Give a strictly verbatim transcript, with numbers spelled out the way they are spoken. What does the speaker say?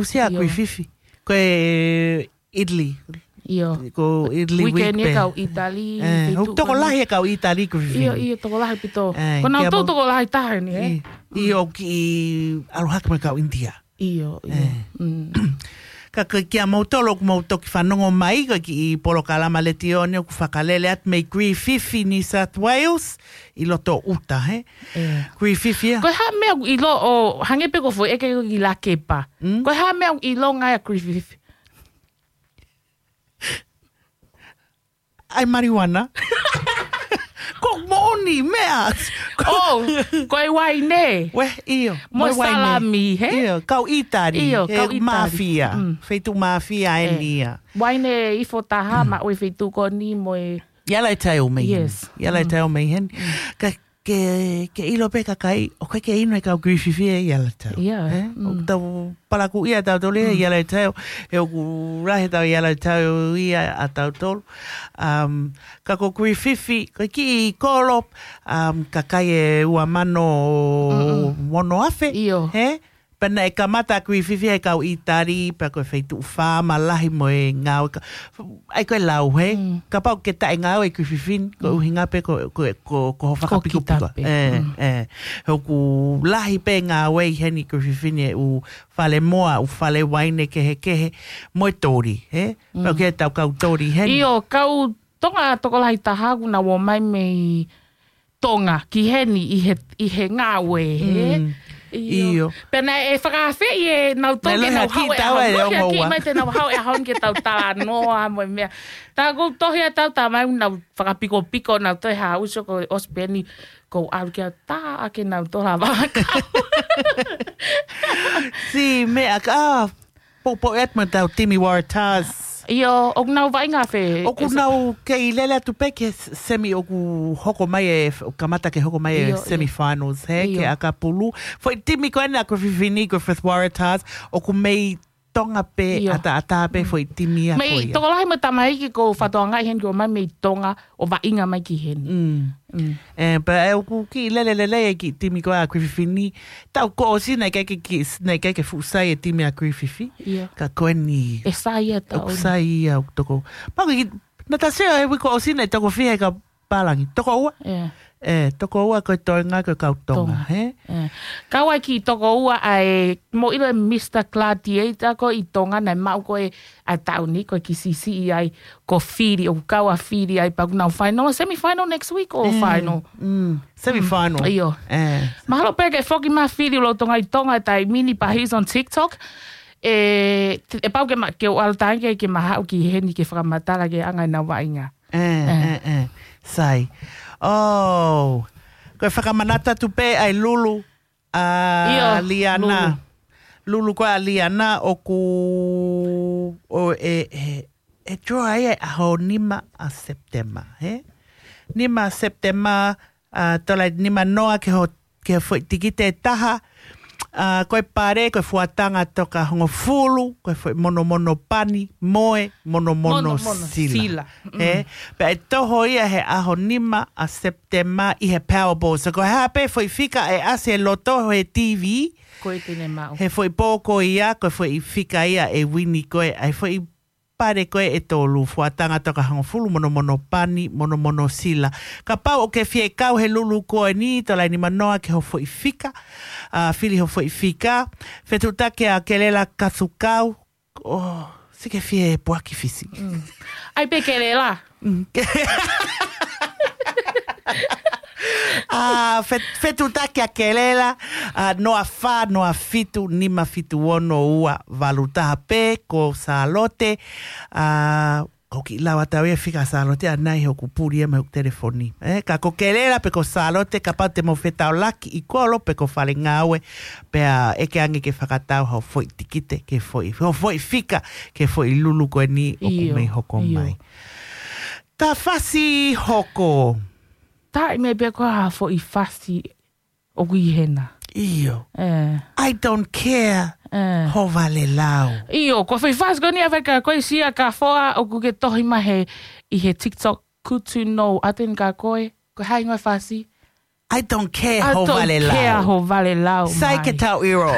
Usia Griffith. Ko e Italy. Io. Ko Italy week pē. Weekend ia kau Italy. Eh, tokolahi e kau Italy Griffith. Io, io, tokolahi pito. Eh, ko nau tau tokolahi taha ni, eh? Io, ki ʻalu hake mai kau India. Io, io. Eh. Mm. Ka ko kia moutolu ʻoku mou toki fanongo mai, ko e kiʻi polokalama letiō ni ʻoku fakalele atu mei Griffith, New South Wales, ʻi loto ʻuta, he? Eh. Griffith ia. Ko e hā meʻa ʻoku ʻilo ʻo hangē pē ko foʻi ʻeke ki Lakepa. Mm? Ko e hā meʻa ʻoku ʻilonga ʻa Griffith? ʻAi marijuana. Ko moʻoni meʻa. Oh, ko e uaine. Ue, io. Mo e uaine. Salami, he? Io, kau Italy. Io, he kau Italy. Mafia. Mm. Feituʻu mafia eni ia. Uaine ifo taha, maʻu e feituʻu ko eni mo e Yellowtail mei heni. Yes. Yellowtail mei heni. Mm. Ka ke, ke ʻilo pē kakai, ʻoku ʻikai ke inu e kau Griffith ia Yellowtail. Ia, eh? Mm. ʻOku tau palakū ia tautolu ia Yellowtail, he ʻoku lahi tau Yellowtail ia ʻa tautolu. Um, ka ko Griffith, ko e kiʻi kolo, um, kakai ʻe ua mano ono afe, he? Pea naʻe kamata Griffith he kau Italy, pea ko e feituʻu faama lahi mo e ngāue ka, ʻai ko e lau, he? Mm. Kapau ke taʻe ngāue Griffith, ko e ʻuhinga pē ko, ko, ko, ko ho fakapikopiko. Kita pē. Eh, eh. He ʻoku lahi pē ngāue ʻi heni Griffith he ʻū fale moa, ʻū fale uaine kehekehe, mo e toli, he? Pea ke tau kau toli heni. Io, kau Tonga tokolahi taha ʻoku nau ō mai mei Tonga ki heni ʻi he, ʻi he ngāue, he? Mm. Io. Pea naʻe fakaafeʻi ʻe nautolu ke nau haʻu e ʻaho ni, mai te nau haʻu e ʻaho ni ke tau talanoa mo e meʻa. Tā ʻoku tohi ʻa tau tā mai nau fakapikopiko nau toe haʻu sio ko ʻosi pē eni ko ʻalu kia tā ake nau tola vaka. Si meʻa ka, Poupou ʻEtma tau timi Waratahs. Io, ʻoku nau vaʻinga fē? ʻOku nau kei lele atu pē ki he s-, semi ʻoku hoko mai e f-, kamata ke hoko mai e semifinals, he, ke ʻakapulu. Foʻi timi ko ena ko Fifini, ko Fifth Waratahs, ʻoku mei Tonga pē, ʻataʻatā pē foʻi timi ia ko ia. Mei tokolahi mo tamaiki ko Fatoangaʻi heni ko mai mei Tonga, ʻo vaʻinga mai ki heni. Mm. Mm. Eh, pea ʻoku kiʻi lele lelei e kiʻi timi ko ē ʻa Griffith ni. Tau ko ʻosi naʻe ʻikai ke, naʻe ʻikai ke fuʻu sai e timi ʻa Griffith. Ia. Ka ko eni. ʻE sai ia tau. ʻOku sai ia ʻoku toko. Pau ki, naʻa ta sio he uike kuo ʻosi naʻe toko fiha e kau pālangi. Toko ua? Ia. Eh, toko ua ko e toenga ko e kau Tonga, he? Eh. Kau ai ki toko ua ʻa e, mou ʻilo e Mister Gladiator ko ē ʻi Tonga naʻe maʻu ko ē ʻa e taʻu ni ko e kiʻi siʻisiʻi ai ko Fili, ʻoku kau ʻa Fili ai pea ʻoku nau final, semifinal next week ʻo final. Mm, semifinal. Mm, ʻio. Eh. Mahalo pē ke foki mai Fili ʻo lolotonga ʻi Tonga e taimi ni pea he's on TikTok. E, te, ʻe pau ke ma, ke u ʻalu tangi ke, ke ma haʻu ki heni ke fakamatala ki he anga ʻenau vaʻinga. Eh, eh, eh. Sai. Oh, ko e fakamanatu atu pē ʻa e Lulu ʻa Liana. Lulu ko ē ʻa Liana ʻoku, ʻo e, e, e draw ai e ʻaho nima ʻa Sepitema, he? Nima ʻa Sepitema, ʻa, tola nima noa ke ho, ke ho foʻi tikite ʻe taha, ʻa, ko e pale, ko e fuatanga toka hongofulu, ko e foʻi monomono pani, mo e monomono sila. He? Pea ʻe toho ia he ʻaho nima ʻa Sepitema ʻi he Powerball. So ko e hā pē foʻi fika ʻe ʻasi he loto he T V. Ko e tene maʻu. He foʻi pō ko ia, ko e foʻi fika ia ʻe uini ko ē, ʻa e foʻi pale ko ē ʻe tolu, fuatanga toka hongofulu, monomono pani, monomono sila. Kapau ʻoku ke fie kau he Lulu ko eni, tola nima noa ke ho foʻi fika, ʻa, fili ho foʻi fika, fetuʻutaki ʻa Kelela Kasukau, ʻo, siʻi ke fie puaki Fisi. Mm. ʻAi pē Kelela. Mm. ʻA, fet-, fetuʻutaki ʻa Kelela, ʻa, noa fā, noa fitu, nima fitu ono ua valu taha pē, ko Sālote, ʻa, ko kiʻi lau atu au ia fika Sālote ʻanai he ʻoku puli ia mei hoku telefoni. Eh, ka ko Kelela pe ko Sālote kapau te mou fetaulaki ʻi kolo pe ko fale ngāue, pea ʻeke ange ke fakatau hao foʻi tikite, ke foʻi, hao foʻi fika, ke foʻi Lulu ko eni ʻoku mei hoko mai. Ka fasi hoko. Taʻi mai pē ko ha foʻi fasi ʻoku ʻi hena. ʻIo. Eh. I don't care. Eh. Ho vale lau. ʻIo, ko e foʻi fasi ko eni ʻa e fai ka ko e sia ka foa ʻoku ke tohi mai he ʻi he TikTok, good to know. ʻAten ka ko e, ko hai ngoi fasi. I don't care ho vale lau. I don't care ho vale lau. Sai ke tau ʻilo.